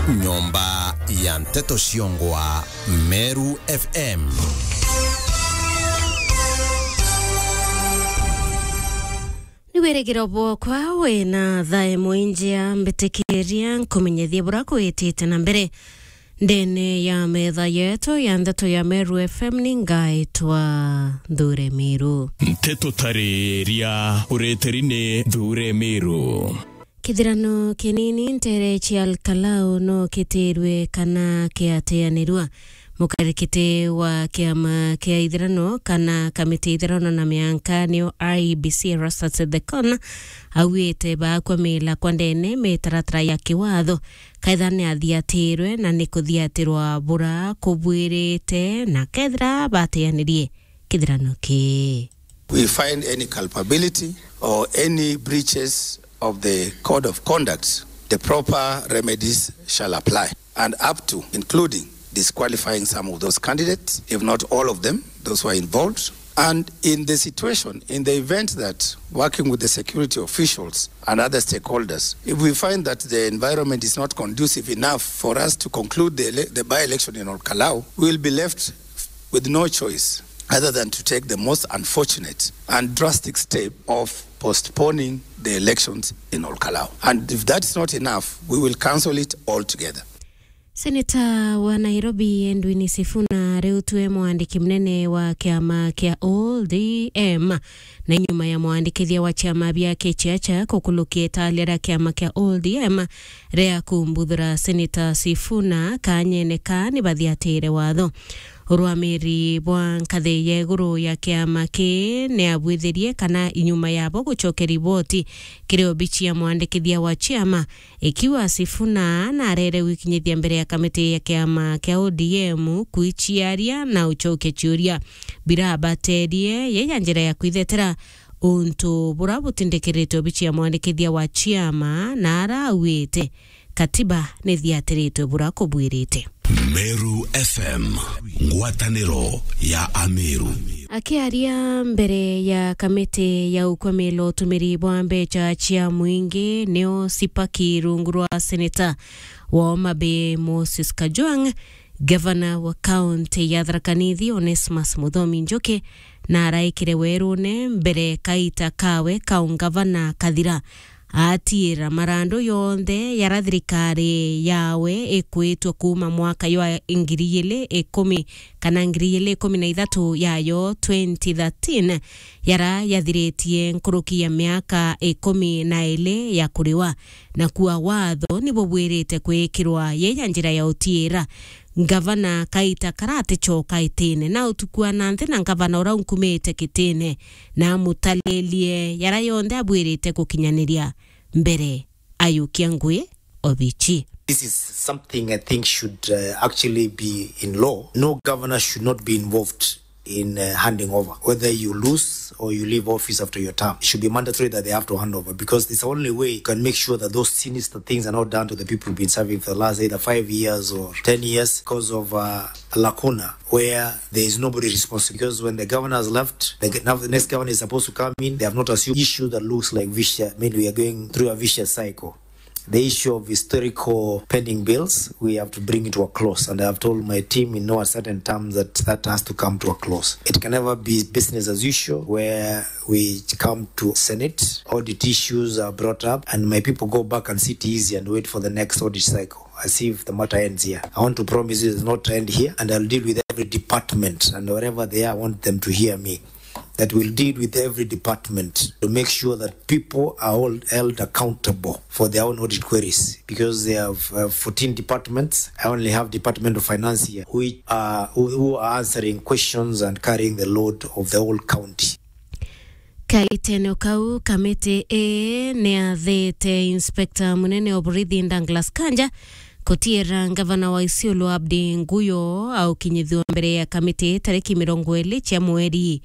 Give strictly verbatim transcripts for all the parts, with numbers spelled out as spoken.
Nyomba ya nteto ciongwa Meru F M. Ni wirigiro bwakwa wina thaa imwe njia, mbitikiria nkumenyethie bura kwitite na mbere. Ndene ya metha yetu ya ndeto ya Meru F M ni ngaitwa Nthure Miru. Nteto tariria ureteri ni Nthure Miru. Kithirano kinini ntere cia Olkalau no kitirwe kana kiateanirua. Mukarikiti wa kiama kia ithirano kana kamiti ithirano na mianka niyo I E B C Erastus Ethekon augite bakwamila kwa ndene mitaratara ya kiwatho, kethira ni athiatirwe na ni kuthiatirwa bura kubwirite na kethira bateanirie kithirano kii. We find any culpability or any breaches of the code of conduct, the proper remedies shall apply, and up to, including disqualifying some of those candidates, if not all of them, those who are involved. And in the situation, in the event that, working with the security officials and other stakeholders, if we find that the environment is not conducive enough for us to conclude the ele-, the by-election in Olkalau, we will be left with no choice other than to take the most unfortunate and drastic step of postponing the elections in Olkalau. And if that's not enough, we will cancel it altogether. Seneta wa Nairobi Edwin Sifuna riu twe mwandiki munene wa kiama kia O D M, na nyuma ya mwandikithia wa ciama biake Chacha kukulukia italia ria kiama kia O D M ria kumbuthura Seneta Sifuna kanyene ka ni bathiatire watho. Urwamiri bwa nkathi ya iguru ya kiama ki ni abwithirie kana inyuma yabo gucokia riboti kiri obici ya mwandikithia wa ciama, ikiuga Sifuna narere gwikinyithia mbere ya kamiti ya kiama kia O D M kwiciaria na ucokia ciuria birabaterie ye ya njira ya kwithetera untu bura butindikiritwe obici ya mwandikithia wa ciama, na arauite katiba ni thiatiritwe bura kubwirite. Meru F M, ngwataniro ya Ameru. Akiaria mbere ya kamiti ya ukwamila utumiri bwa mbeca cia mwingi, nio Sipaki rungu rwa seneta wa Homa Bay Moses Kajwang', gavana wa kaunti ya Tharaka Nithi Onesmus Muthomi Njuki, na araikire werune mbere kaita kawe ka ungavana kathira, atiira marandu yonthe yara thirikari yawe ikwitwe kuuma mwaka jwa ngiri igiri ikumi kana ngiri igiri ikumi na ithatu yayo twenty thirteen, yara yathiritie nkuruki ya miaka ikumi na iri ya kuriwa, na kuwa watho ni bubwirite kwikirwa ye ya njira ya utiira. Ngavana kaita karaticoka itine, na utuku wa nanthi na ngavana ura unkumite kitine, na amutalilie yara yonthe abwirite gukinyaniria mbere ayukia ngui obici. This is something I think should, uh, actually be in law. No governor should not be involved in, uh, handing over. Whether you lose or you leave office after your term, it should be mandatory that they have to hand over, because it's the only way you can make sure that those sinister things are not done to the people who've been serving for the last either five years or ten years because of, uh, a lacuna where there is nobody responsible. Because when the governor has left, the g-, now the next governor is supposed to come in. They have not assumed issue that looks like vicious. I mean, we are going through a vicious cycle. The issue of historical pending bills, we have to bring it to a close. And I have told my team in no uncertain terms that that has to come to a close. It can never be business as usual where we come to Senate, audit issues are brought up, and my people go back and sit easy and wait for the next audit cycle, as if the matter ends here. I want to promise you it does not end here, and I'll deal with every department, and wherever they are, I want them to hear me, that we'll deal with every department to make sure that people are all held accountable for their own audit queries, because they have, uh, fourteen departments. I only have Department of Finance here, which are, who, who are answering questions and carrying the load of the whole county. Kaitene kau, kamiti ii ni yathite Inspector Munene wa Borithi Douglas Kanja kutiira ngavana wa Isiolo Abdi Nguyo aukinyithua mbere ya kamiti tariki mirongo iri cia mweri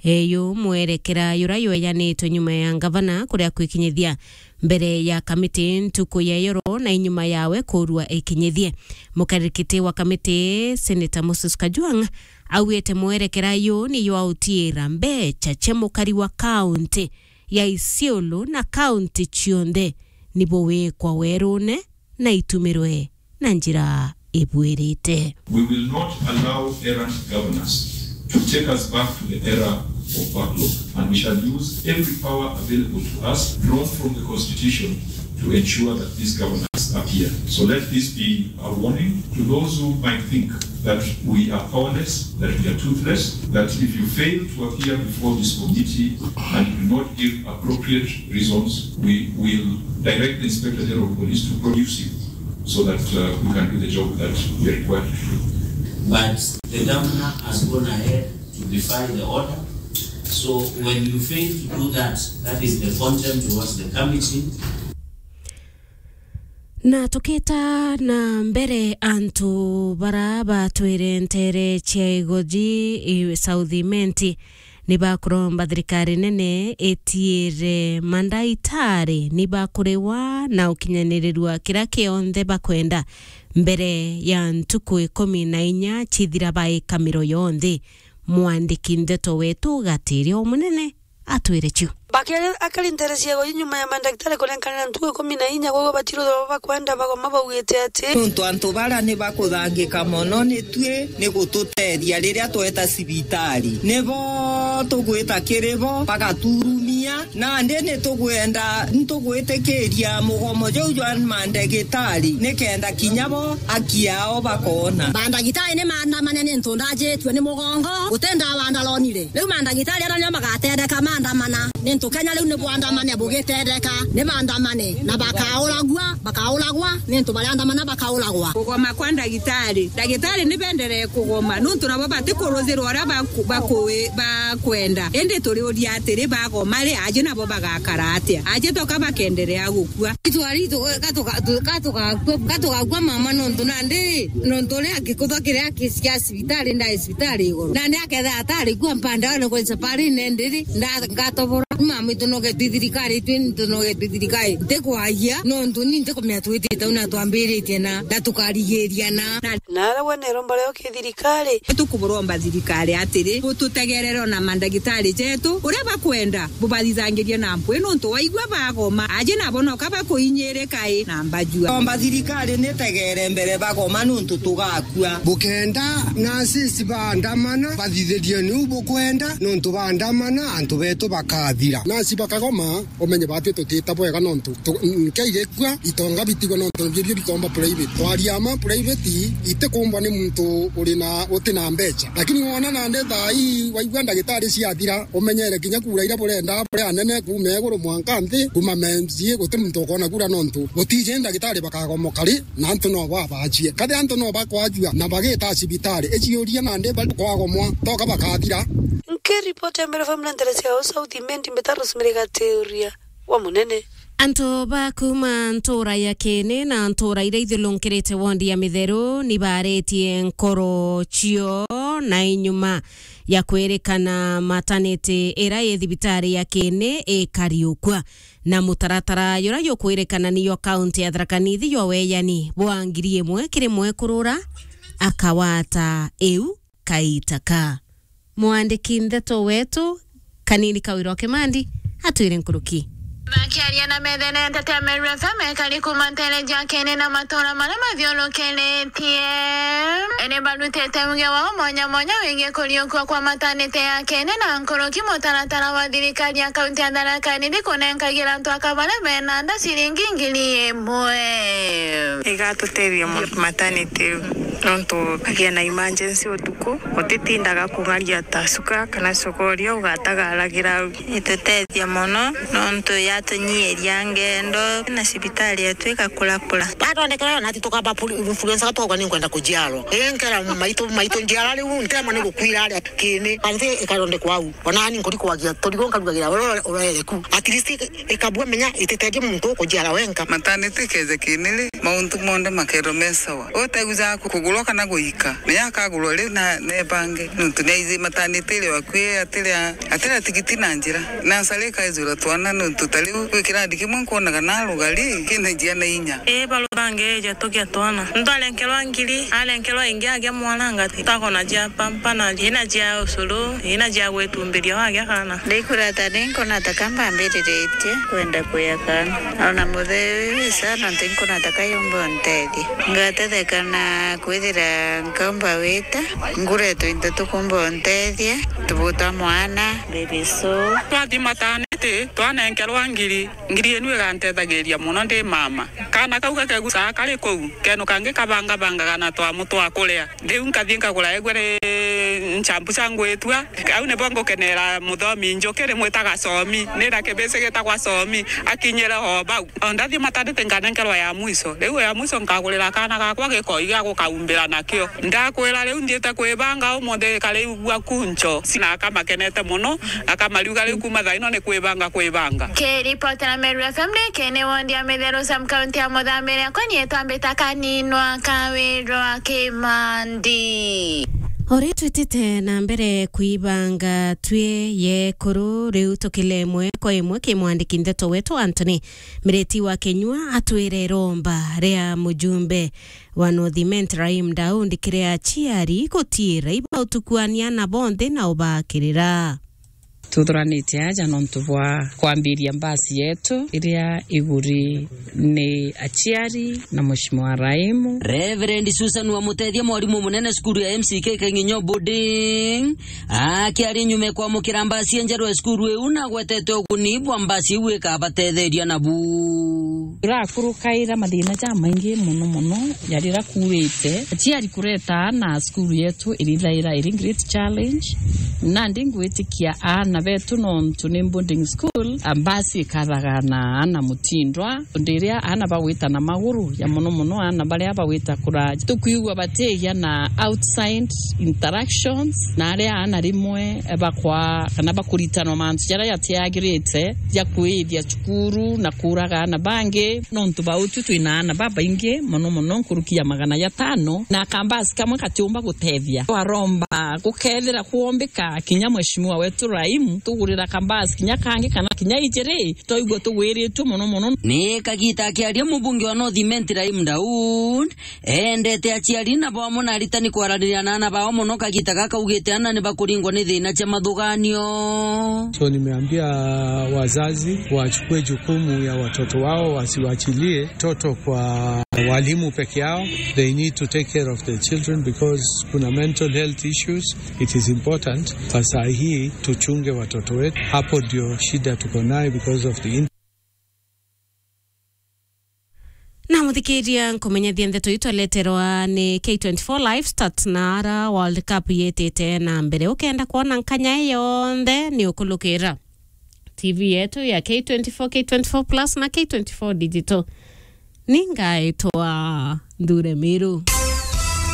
uyu. Mwerekera jura jwejanitwe nyuma ya ngavana kuria kwikinyithia mbere ya kamiti ntuku ya yoro na inyuma yawe kurua ikinyithie. Mukarikiti wa kamiti, Senator Moses Kajwang', augite mwerekera uyu ni jwa utiira mbeca cia mukari wa kaunti ya Isiolo na kaunti cionthe ni buwikwa werune na itumirwe na njira ibuirite. We will not allow errant governance to take us back to the era of backlog, and we shall use every power available to us, drawn from the Constitution, to ensure that these governors appear. So let this be a warning to those who might think that we are powerless, that we are toothless, that if you fail to appear before this committee and do not give appropriate reasons, we will direct the Inspector General of Police to produce you so that, uh, we can do the job that we are required to do. But the governor has gone ahead to defy the order. So when you fail to do that, that is the contempt towards the committee. Na tukita na mbere, antu bara batwire ntere cia Igoji, i South Imenti, ni bakuromba thirikari nene itiire mandaitari ni bakuriwa na ukinyaniriru wa kira kionthe bakwenda mbere ya ntuku ikumi na inya cithira baika miro yonthe. Mwandiki ndeto wetu Gatiria Omunene atwire cio. Bakiri akari ntere cia Igoji nyuma ya mandagitari kurenkanira ntuku ikumi na inya, kwou batiruthwa bakwenda bagoma baugite ati, nontu antu bara ni bakuthangika mono ni tui, ni gututeethia riria tweta cibitari. Nibo tugwita kiri bo, bagaturumia. Nandi ni tugwenda, ni tugwitikiria mugomo juu jwa mandagitari, nikenda kinya bo haki yao bakoona. Mandagitari ni maandamane ni ntu ndajitue ni mugongo, guti ndawa ndalonire. Riu mandagitari aria nio magatendeka maandamana, ni ntu Kenya riu ni bwandamane bugitendeka, ni baandamane na bakauragua, bakauragwa, ni ntu bariandamana bakauragwa. Kugoma kwa ndagitari. Ndagitari ni benderee kugoma, nontu nabo batikuruzirwa uria baku-, baku-, bakwenda. Indi turiuria atiri, bagoma ri, aji nabo bagakara atia? Aji toka bakenderea gukua? Itwari tu-, gatuga-, tu-, gatugakua, gatugakua mama, nontu nandi, nontu uria gikuthwa kiria ki-, kia cibitari, ndai cibitari igoro. Nandi akethira atari kua mpande, one kwensa pari nendiri, nda-, ngatobora. Mama itu noge twi thirikari, twi ntu noge twi thirikari. Ntikwagia, nontu ni ntikumenya twitite una twambiritie na, na tukarigiriana. Na Na aria we neromba rio ki thirikari? Tukuburomba thirikari atiri, bututegerere ona mandagitari jetu, uria bakwenda, bubathithangirie na mpwi, nontu waigua bagoma, aji nabo noka bakuinyirika i na mbajua. Omba thirikari nitegere mbere bagoma, nontu tugakua. Bukenda nurses baandamana, bathithirie niu bukwenda, nontu baandamana, antu betu bakathira. Nurse bakagoma, umenye bati tutita bwega, nontu tu-, nkei gikua, itonga bitigwe, nontu nibio bikomba private. Twaria ma private, itikumbwa ni muntu uri na, uti na mbeca. Lakini wona nandi thaa ii, waigua ndagitari ciathira, umenyere kinya kura iria burenda, buri anene, kuuma iguru mwanka nthi, kuuma M C A, guti muntu ukona kura, nontu gutiji ndagitari bakagomoka ri, na antu no babajie. Kathi antu no bakwajua, na bagita cibitari, iciuria nandi bari kwagomwa, toka bakathira. Nkiripoti ya Meru F M na ntere cia South Imenti, mbita Rosemary Gatiuria wa Munene. Antu ba kuuma ntuura ya Kiini na ntuura iria ithiurunkirite wondi ya Mitheru ni baaritie nkoro cio na inyuma ya kwirikana mataniti iria i thibitari ya Kiini ikariukua na mutaratara juria jukwirikana niyo kaunti ya Tharaka Nithi jwa weyani bwa ngiri imwe kiri mwekurura akawata iu kaita ka. Mwandiki ndeto wetu, Kanini Kawira wa Kimandi, atwire nkuruki. Bakiaria na methenete cia Meru F M ekari kuuma ntere cia Kiini na matuura maria mathiurukiritie, ni barutite uge wao mwanya mwanya wigii kuriukua kwa matanite ya Kiini na nkuruki mutaratara wa thirikari ya kaunti ya Tharaka Nithi kunenkagira antu aka baria bena nda ciringi ngiri imwe. Igatutethia mono matanite iu, nontu kagia na emergency utuku. Utitindaga kung'aria ta cuka kana cokoria, ugatagaragira au. Itutethia mono, nontu yatunyiiria ngendo, na cibitari yetu igakurakura. Bathondekera nati tukamba puli-, influenza, twaugwa ni nkwenda kujiarwa. Ii, nkera maitu, maitu njiara riu, ntemwa ni gukwira aria Kiini, kanthi ikathondekwa au. Ona ni nkuri kwagia, turigo nkarugagira, ura-, ura-, urere ku. At least ikabua menya, ititethia muntu kujiara wenka. Matanite ikeja Kiini ri, mauntu monthe makerwa me sawa. Uteguja ku-, kugurwa kana guika. Ni akagurwa riu na nebange, nontu ni aithimatanite iri akui, atiri a-, atiri a tigiti na njira. Na nsara ikaijura twana, nontu ta riu kwi kirandi kimwe nkwonaga na rugari, kina njia na inya. Ii, baruthange eja tugia twana. Muntu arenkerwa ngiri, arenkerwa ingi agia mwana ngati. Takona jia pampa na ina jia ucuru, ina jia gwitumbiria wagia kana. Ndikurata ni nkona ta ka mbambiriritie kwenda kuya kana. Ona muthee uyu isa, nontu nkona ta ka yumba untethia. Ngatetheka na kwithira nkaumba wita, nguretwa into tukumba untethia, tubuta mwana, baby so. Twathimata niti, twanenkerwa ngiri, ngiri inu igantethagiria mono ndi mama. Kana kau gakegucaga kari kuu, kenu kangi kabangabangaga na twamu twa kuria. Riu nkathii nkagura egwe ri nchampu cia ngwitua. Au nibo ngukenera muthomi njuki rimwitaga Somi. Nina kibisi gitagwa Somi. Akinyire o bau. O ndathimata niti nkanenkerwa ya mwiso. Riu ya mwiso nkagurira kaana gakwa gikoi gia gukaumbira nakio. Ndakwira riu nthiite kwibanga umuthi kariigua kuncho. Sina akamakenete mono, akamariuga riu kuma thaa ino ni kwibanga kwibanga. Kiripotera Meru F M ni kene wondi ya Mitheru sub county ya Muthamire, akwa ni etwambita Kaninwa Kawirwa Kimandi. O ri twitite na mbere kwibanga twi yekuru, riu tukile imwe kwa imwe ki mwandiki ndeto wetu Anthony Miriti wa Kinyua atwire iromba ria mujumbe wa North Imenti Rahim Daudi kiri aciari gutiira ibautukuania na bonthe na ubakirira. Tuthuranite aja nontu bwa kwambiria mbasi yetu iria iguri ni aciari na Mheshimiwa Raimu. Reverend Susan Wamutethia, mwarimu munene cukuru ya M C K Kang'inyo Boarding, akiaria nyuma ya kwamukira mbasi enjerwe cukuru iu, na agwetete uguni bwa mbasi iu ikabatetheria nabu. Turakurukaira mathina jamaingi mono mono, ja riria kuurite. Aciari kureta aana cukuru yetu irithaira iri great challenge. Nandi ngwitikia aana betu, nontu ni boarding school, a, mbasi ikathaga na aana mutindwa. Undi iria aana bagwita na maguru, ja mono mono aana baria bagwita kuraja. Tukwigua batigia na outside interactions, na aria aana rimwe bakwa kana bakuritanwa mantu jaria jatiagirite, ja kwithia cukuru na kuuraga aana bangi. Nontu ba utu twina aana babaingi mono mono, nkuruki ya magana jatano, na kambasi kamwe katiumba gutethia. Twaromba gukethira kwombika kinya Mheshimiwa wetu Raimu, tugurira kambasi kinya kangi kana kinya ijiri, twaigua tugwiritue mono mono. Ni kagita akiaria mubunge wa North Imenti Raimu Daud, endete aciari na bo amwe na aritani kwaraniria na aana bao mono kagita gaka, augite aana ni bakuringwa ni thina cia mathuganio. So nimeambia wazazi wachukue jukumu ya watoto wao, wasiwachilie mtoto kwa walimu peke yao. They need to take care of their children because kuna mental health issues. It is important kwa saa hii tuchunge watoto wetu. Hapo ndio shida tuko nayo because of the in- Na muthikiria, nkumenyethia ndeto iu twaleterwa ni K twenty-four Live Stats na ara World Cup yitite na mbere. Ukenda kwona nkanya ii yonthe, ni ukulukira T V yetu ya K twenty-four, K twenty-four Plus na K twenty-four Digital. Ni ngaitwa Nthure Miru.